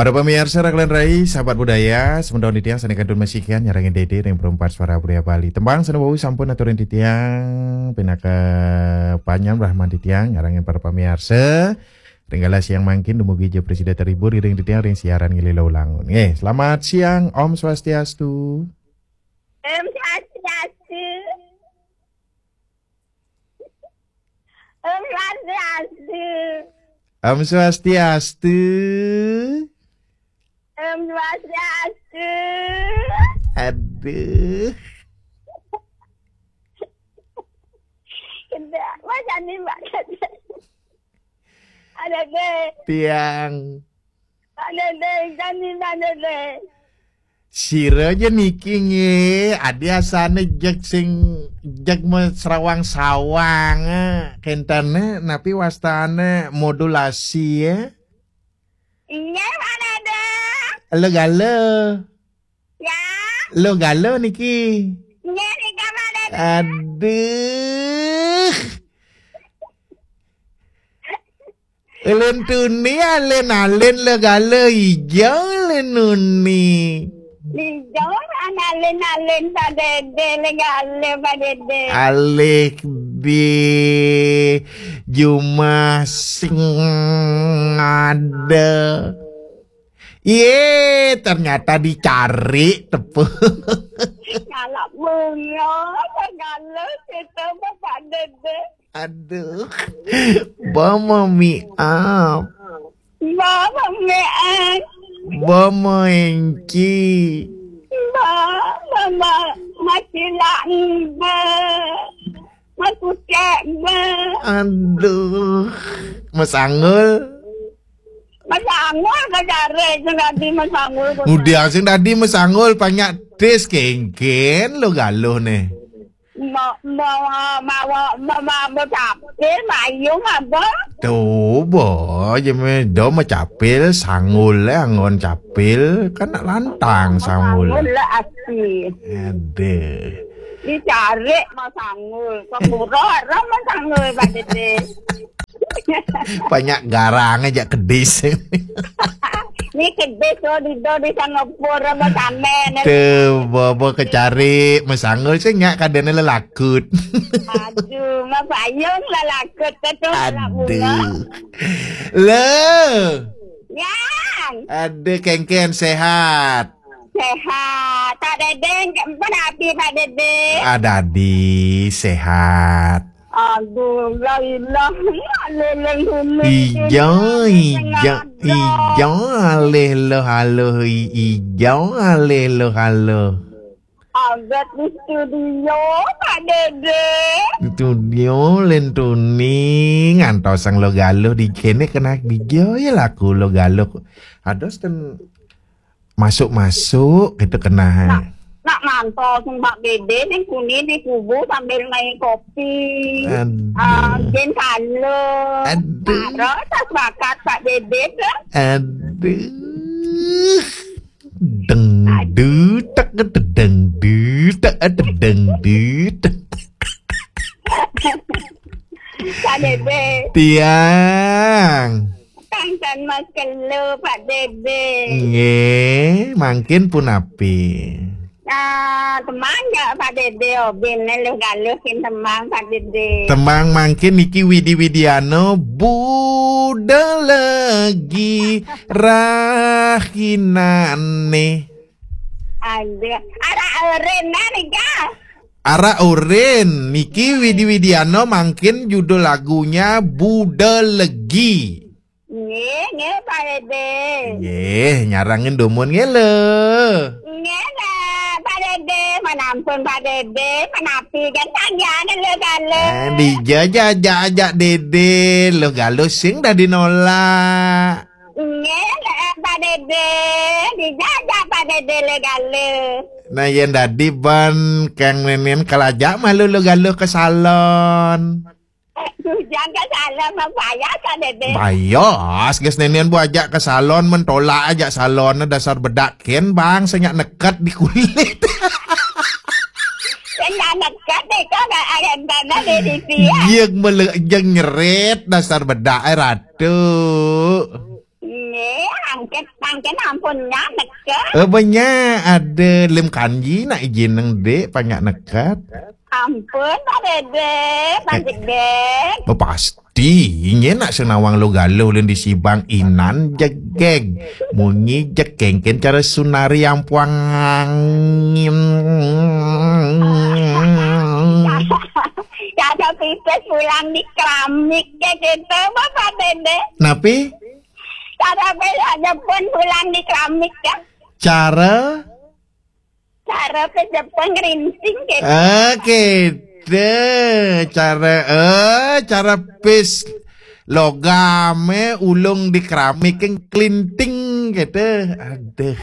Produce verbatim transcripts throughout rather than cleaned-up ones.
Para pamiarsa, rakelan rai, sahabat budaya, semeton titiang sané kantun masikian nyarengin Dédé ring Perempat Suara Budaya Bali. Tembang sané wau sampun aturin titiang pinaka panjam rahman titiang nyarengin para pamiarsa. Ring galah siang mangkin dumugi ja prasida terhibur ring titiang ring siaran Ngilir Ula Ulangun. Nggih, selamat siang, Om Swastiastu. Om Swastiastu. Om Swastiastu. Om Swastiastu. Om Swastiastu. Aduh. Kena, macam ni, Mbak. Ada deh. Tiang. Ada deh, kan ni ada deh. Sira ja niki nggih, adi asane jeg sing jeg mesrawang-sawang, eh, kentene napi wastane modulasi, eh? Nggih, Pak Dede. Lo galo. Ya. Lo galo niki. Nggih, nika Pak Dede. Aduh. Len tuni alen-alen le galo ijo len nuni. Ijo alen-alen Pak Dede le galo Pak Dede. Alih di jumah sing ada. Ye, ternyata dicari tepung. Ngalap bunga, segala kita Pak Dede. Aduh. Bama miap. Bama miap. Bama enci. Bama masih lamba. Masih cek ba. Aduh. Masangul. Masangul ke jare sing dadi masangul. Udah sing dadi masangul banyak tis kengken lo galuh nih. Mau mau mau mau mau capil mayung apa? Tuh, boh, jeme do mau capil sangul le anggon capil kan nak lantang sangul. Sangul le asli. Ade. Dicari mau sangul, ke pura orang mau sangul Pak Dede. Banyak garang aja kedis. Ni kedis lo di do di Singapura apa samen. Tuh, bobo kecari mesangul sing nyak kadene lelakut. Aduh, ma payung lelakut tu. Aduh. Lo. Yang. Aduh, kengken sehat. Sehat. Pak Dede, pun api Pak Dede. Ada di sehat. Aduh, la ilaha illallah. Ija, ija, ija alih lo halo, i-, ija alih lo halo. Agat di studio, Pak Dede. Studio lentuni ngantos sang lo galuh di kene kena dija ya laku lo galuh. Ados ten masuk-masuk gitu kena. Nak, nak mantos Pak Dede ning kuni di kubu sambil main kopi. Aduh. Ah, jen kalo. Aduh. Terus tas bakat Pak Dede ke? Aduh. Deng dutek deng dutek deng dutek. Pak Dede. Tiang. Tangsan Mas Kelo, Pak Dede. Nggih, mangkin punapi? Nah, temang ya Pak Dede, obin luh galuh kin temang Pak Dede. Temang mangkin niki Widi Widiano, Buda Legi Rahinane. Ada. Ada Eren nika. Ara Urin, niki Widi Widiano mangkin judul lagunya Buda Legi. Nggih, nggih, Pak Dede. Nggih, nyarangin dumun nggih lho. Nggih, nggih, Pak Dede. Manampun Pak Dede, manapi kan tanjane lho kalo. Eh, dijajak-ajak Dede, lo galuh sing dadi nolak. Nggih, nggih, Pak Dede. Dijajak Pak Dede le galuh. Nah, yen dadi ban kang nenen kalajak malu lo galuh ke salon. Jangan salah membayar kan, Dede? Bayas, guys, nenen bu ajak ke salon, mentolak ajak salon, dasar bedak ken, bang, senyak neket di kulit. Senyak neket deh, kau gak ada dana di sini ya? Iya, mele-, jeng nyeret, dasar bedak, eh, ratu. Nggih, angkat Mangkin ampun nya neket. Eh, banyak ada lem kanji nak izin nang dek banyak neket. Ampun, Pak Dede, Pak Dede. Oh, pasti. Inye nak senawang lo galo len di sibang inan jegeg. Munyi jekengken cara sunari ampuang angin. Cara pipis pulang di keramik ke gitu, Bapak Dede. Napi? Cara besok Jepun pulang di keramik ya. Cara? Cara ke Jepun ngerinting gitu. Ah, gitu. Cara, eh, cara pis logame ulung di keramik yang kelinting gitu. Aduh.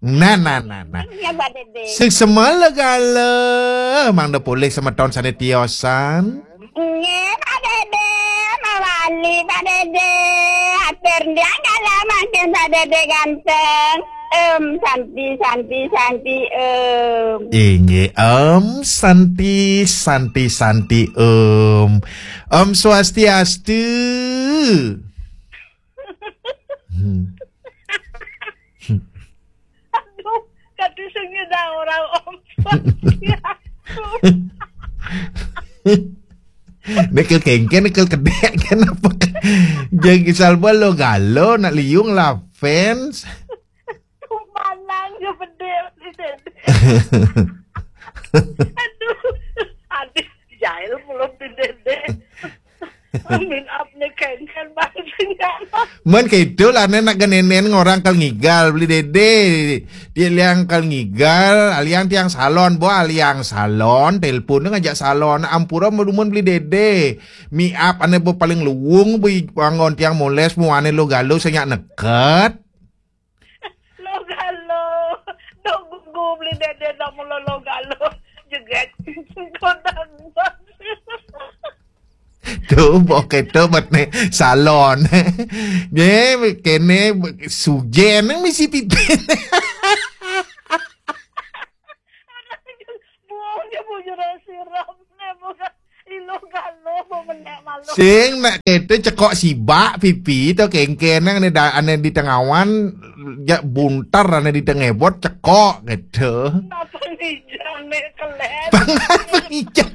Nah, nah, nah, nah. Ya, Pak Dede. Sing semua lo galo. Mang da polih semeton sane tiosan. Nggih, Pak Dede, mawali, Pak Dede. Atur dia kalau makin Pak Dede ganteng. Em, Santi, Santi, Santi, em. Inggih, Om Santi, Santi, Santi, Om. Om Swastiastu. Hmm. Aduh, kati sing nyedang orang Om. Ya. Nekel kengken, nekel kedek, kenapa? Jeng salba lo galo, nak liung lah fans. Manang ya bedil di dede. Aduh, adik jahil belum di dede. Amin apne kengken bang senjata. Men kaitu lah ne nak genenen ngorang kal ngigal beli dede. Dia liang kal ngigal, aliang tiang salon, bo aliang salon, telepon ngajak salon, ampura medumun beli dede. Mi ap ane bo paling luwung bo anggon tiang moles mu ane lo galo senyak neket. Lo galo. Dok gugu beli dede dok mulo lo galo. Jeget. Kodang. Tu bo keto bet ne salon. Ye kene sujen nang misi pipin. Buang dia bujur siram ne bukan ilo galo mau menek malu. Sing nak keto cekok sibak pipi to kengken nang ne da ane di tengawan ja buntar ane di tengebot cekok gitu. Apa nih jangan ne kelet. Pangan ijang.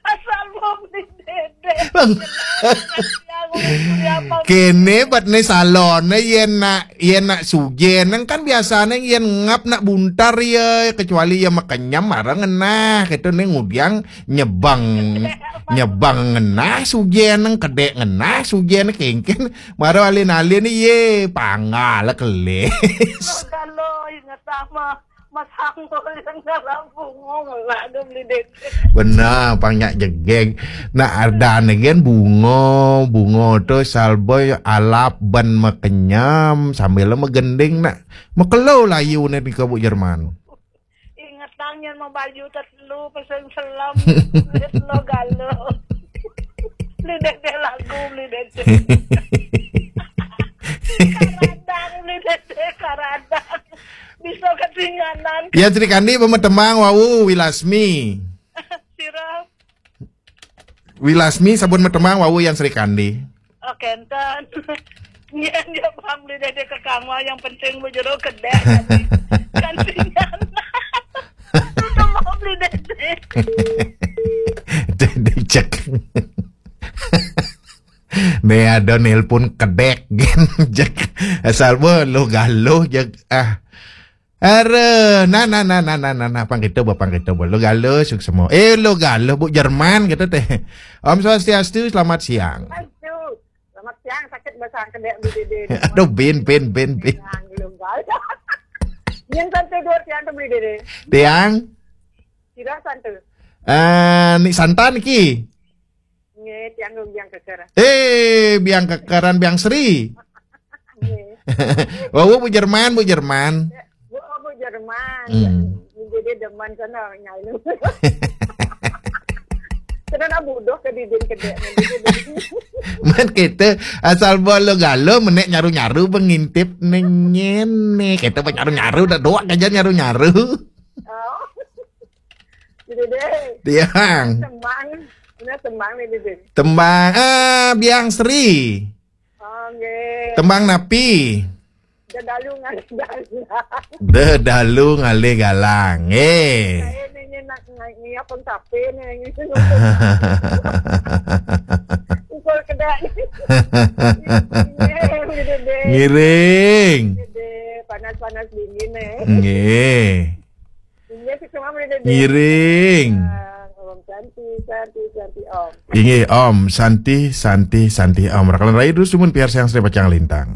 Asal mau beli dede. Bang. Yang udah apa Kene bet ne salon ne yen nak yen nak sujen nang kan biasane yen ngap nak buntar ya kecuali ya makenyam marang ngenah gitu ne ngudiang nyebang nyebang ngenah sujen nang kedek ngenah sujen kengken maro alin-alin ye panggal kelis. Lo galo inget sama Mas Anggo yang dalam bungung lah ada beli dede. Benar, pang nyak jegeg. Nak ardan gen bungo, bungo tu salboy alap ban makenyam sambil magending nak makelo layu ne di kabuk Jerman. Ingetang yang mau baju tetelu pesen selam lo galo. Beli dede lagu beli dede. Karadang beli dede karadang. Bisa ketinggalan. Ya Sri Kandi pemetemang wau Wilasmi. Sira. Wilasmi sabun metemang wau yang Sri Kandi. Oke, enten. Nyen dia bang beli dede ke kamar yang penting bujero kedek kan. Kan tinggal. Itu mau beli dede. Dede cek. Ne ada nelpon kedek gen jek asal bo lo galo jek ah. Are, nah nah nah nah nah nah nah pang kita bo pang kita bo lo galo suk semua. Eh lo galo bu Jerman gitu teh. Om Swastiastu, selamat siang. Aduh, selamat siang sakit basah kedek beli dede. Aduh bin bin bin bin. Yang belum galo. Yang satu dua tiang tu beli dede. Tiang, Sira satu. eh ni santan ki. Nge tiang yang keker. Eh, biang kekeran biang Sri. Nge. Wau bu Jerman, bu Jerman. Bu, oh, bu Jerman. Hmm. Jadi demen sana nyailu. Sana nak bodoh ke didin kedek. Man kita asal bolo galo menek nyaru-nyaru pengintip nengene. Kita penyaru-nyaru dah doa aja nyaru-nyaru. Oh. Jadi deh. Tiang. Semang. Nah, tembang nih, Dede. Tembang ah Biang Sri. Oh, nggih. Tembang napi? Dedalu ngalih dalan. Dedalu ngalih galang. Eh. Saya nanya nak ngai apa sapi nih. Ukur kedai. Nggih, Dede. Ngiring. Dede, panas-panas dingin nih. Nggih. Nggih, sih cuma Dede. Ngiring. Om Santi, Santi, Santi Om. Inggih Om Santi Santi Santi Om. Rakalan raya terus sumun piar siang sri pacang lintang.